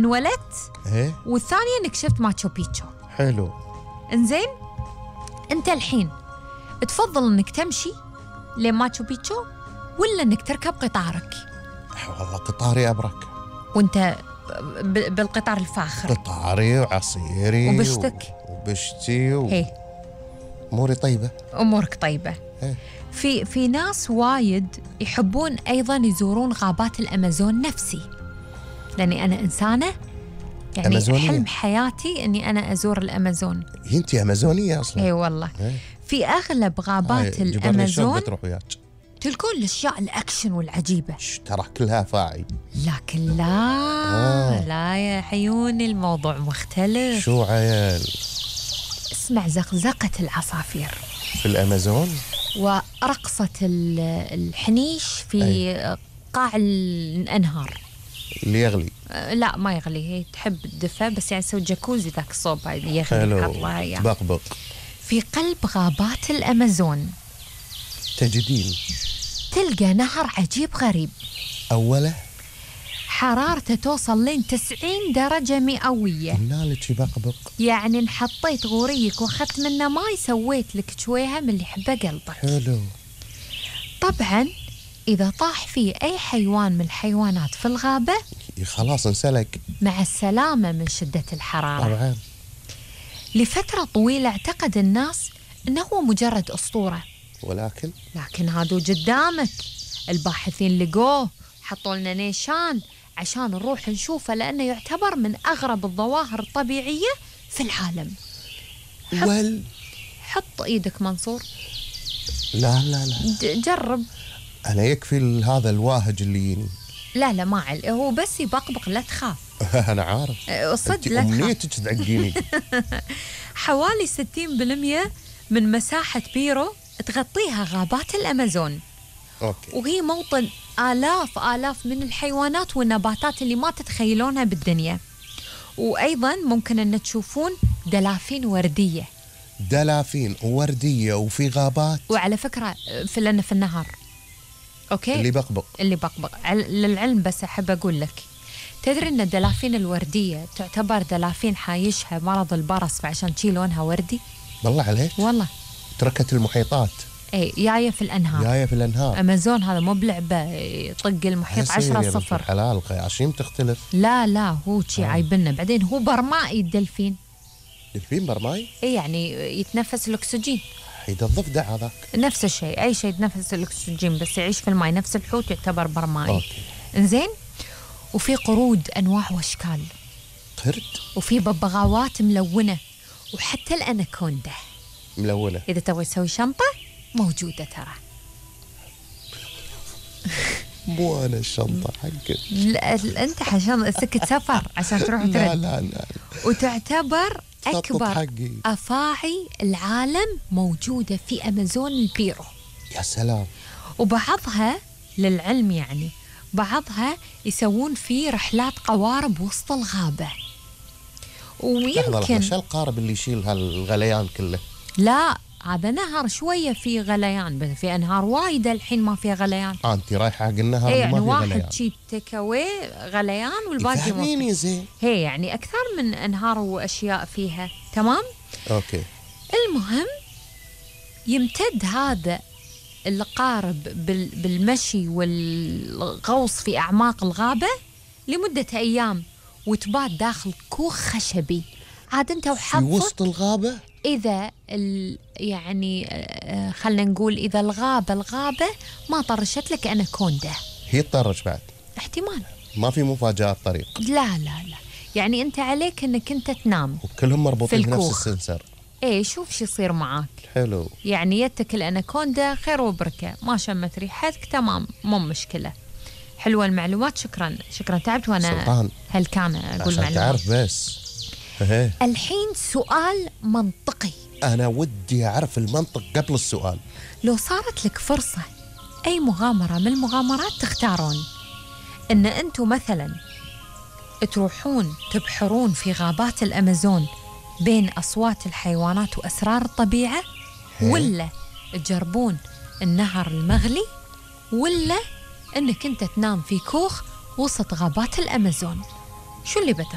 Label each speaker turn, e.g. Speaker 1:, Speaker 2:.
Speaker 1: انولدت
Speaker 2: ايه
Speaker 1: والثانية انك شفت ماتشو بيتشو.
Speaker 2: حلو.
Speaker 1: انزين انت الحين تفضل انك تمشي لماتشو بيتشو ولا انك تركب قطارك؟
Speaker 2: والله قطاري أبرك.
Speaker 1: وانت بالقطار الفاخر؟
Speaker 2: قطاري وعصيري
Speaker 1: وبشتك
Speaker 2: وبشتي
Speaker 1: هي
Speaker 2: أموري طيبة.
Speaker 1: امورك طيبة.
Speaker 2: هي.
Speaker 1: في ناس وايد يحبون ايضا يزورون غابات الامازون نفسي، لاني انا انسانة يعني
Speaker 2: أمازونية.
Speaker 1: حلم حياتي اني انا ازور الامازون.
Speaker 2: انت أمازونية أصلا.
Speaker 1: اي والله.
Speaker 2: هي.
Speaker 1: في اغلب غابات
Speaker 2: جبرني شلون
Speaker 1: الامازون
Speaker 2: بتروح وياك.
Speaker 1: تلقون الاشياء الاكشن والعجيبة،
Speaker 2: ترى كلها فاعي.
Speaker 1: لكن لا لا يا عيوني الموضوع مختلف.
Speaker 2: شو عيال؟
Speaker 1: اسمع زقزقة العصافير
Speaker 2: في الأمازون
Speaker 1: ورقصة الحنيش في قاع الأنهار.
Speaker 2: اللي يغلي.
Speaker 1: لا ما يغلي، هي تحب الدفى بس يعني تسوي جاكوزي ذاك الصوب يغلي.
Speaker 2: حلو. بقبق.
Speaker 1: في قلب غابات الأمازون
Speaker 2: تجدين
Speaker 1: تلقى نهر عجيب غريب،
Speaker 2: أوله
Speaker 1: حرارته توصل لين 90 درجة مئوية.
Speaker 2: نالك بقبق.
Speaker 1: يعني إن حطيت غوريك واخذت منه ماي سويت لك شويها من اللي يحبه قلبك.
Speaker 2: حلو.
Speaker 1: طبعا إذا طاح فيه أي حيوان من الحيوانات في الغابة
Speaker 2: خلاص انسلك.
Speaker 1: مع السلامة من شدة الحرارة.
Speaker 2: طبعا.
Speaker 1: لفترة طويلة اعتقد الناس أنه هو مجرد أسطورة، لكن هادو قدامك الباحثين لقوه، حطوا لنا نيشان عشان نروح نشوفه، لأنه يعتبر من أغرب الظواهر الطبيعية في العالم. حط إيدك منصور.
Speaker 2: لا لا لا
Speaker 1: جرب.
Speaker 2: أنا يكفي هذا الواهج اللي يجيني.
Speaker 1: لا لا ما هو بس يبقبق لا تخاف.
Speaker 2: أنا عارف.
Speaker 1: صدق لا تخاف.
Speaker 2: أمنيتك تعقيني.
Speaker 1: حوالي 60% من مساحة بيرو تغطيها غابات الأمازون.
Speaker 2: أوكي.
Speaker 1: وهي موطن آلاف من الحيوانات والنباتات اللي ما تتخيلونها بالدنيا. وأيضا ممكن أن تشوفون دلافين وردية.
Speaker 2: دلافين ووردية وفي غابات.
Speaker 1: وعلى فكرة في النهر. أوكي.
Speaker 2: اللي بقبق.
Speaker 1: للعلم بس أحب أقول لك، تدري أن الدلافين الوردية تعتبر دلافين حايشها مرض البرص، فعشان شي لونها وردي.
Speaker 2: بالله عليك.
Speaker 1: والله.
Speaker 2: تركت المحيطات.
Speaker 1: اي جاية في الأنهار. أمازون هذا مو بلعبة يطق المحيط 10-0.
Speaker 2: حلال القياشيم تختلف.
Speaker 1: لا هو شي عايبنا. بعدين هو برمائي الدلفين.
Speaker 2: دلفين برمائي؟
Speaker 1: اي يعني يتنفس الأكسجين.
Speaker 2: حيد الضفدع هذاك
Speaker 1: نفس الشيء، أي شيء يتنفس الأكسجين بس يعيش في الماء، نفس الحوت يعتبر برمائي.
Speaker 2: أوكي.
Speaker 1: إنزين. وفي قرود أنواع وأشكال.
Speaker 2: قرد.
Speaker 1: وفي ببغاوات ملونة، وحتى الأناكوندا
Speaker 2: ملونة.
Speaker 1: إذا تبغى تسوي شنطة موجودة ترى.
Speaker 2: مو أنا الشنطة حقك.
Speaker 1: لا أنت عشان سكة سفر عشان تروح ترد.
Speaker 2: لا.
Speaker 1: وتعتبر أكبر أفاعي العالم موجودة في أمازون البيرو.
Speaker 2: يا سلام.
Speaker 1: وبعضها للعلم يعني بعضها يسوون فيه رحلات قوارب وسط الغابة. ويمكن
Speaker 2: شو القارب اللي يشيل هالغليان كله؟
Speaker 1: لا هذا نهر شوية فيه غليان، بس في أنهار وايدة الحين ما فيها غليان.
Speaker 2: أنت رايحة حق النهر اللي
Speaker 1: يعني
Speaker 2: ما فيه غليان.
Speaker 1: واحد شي تكوي غليان والباقي
Speaker 2: فهميني زين.
Speaker 1: هي يعني أكثر من أنهار وأشياء فيها. تمام.
Speaker 2: أوكي.
Speaker 1: المهم يمتد هذا القارب بالمشي والغوص في أعماق الغابة لمدة أيام، وتبات داخل كوخ خشبي. عاد أنت وحظك
Speaker 2: في وسط الغابة.
Speaker 1: إذا يعني خلنا نقول إذا الغابة ما طرشت لك أناكوندا.
Speaker 2: هي تطرش بعد
Speaker 1: احتمال.
Speaker 2: ما في مفاجآت طريق.
Speaker 1: لا يعني أنت عليك أنك أنت تنام
Speaker 2: وكلهم مربوطين بنفس السنسر.
Speaker 1: إيه شوف شو يصير معاك.
Speaker 2: حلو.
Speaker 1: يعني يتك الأناكوندا خير وبركة، ما شمت ريحتك تمام مو مشكلة. حلوة المعلومات. شكرا تعبت وأنا
Speaker 2: سلطان.
Speaker 1: هل كان أقول
Speaker 2: معلومات عشان تعرف بس.
Speaker 1: الحين سؤال منطقي.
Speaker 2: أنا ودي أعرف المنطق قبل السؤال.
Speaker 1: لو صارت لك فرصة أي مغامرة من المغامرات تختارون إن أنتوا مثلا تروحون تبحرون في غابات الأمازون بين أصوات الحيوانات وأسرار الطبيعة، ولا تجربون النهر المغلي، ولا أنك أنت تنام في كوخ وسط غابات الأمازون، شو اللي بتختار؟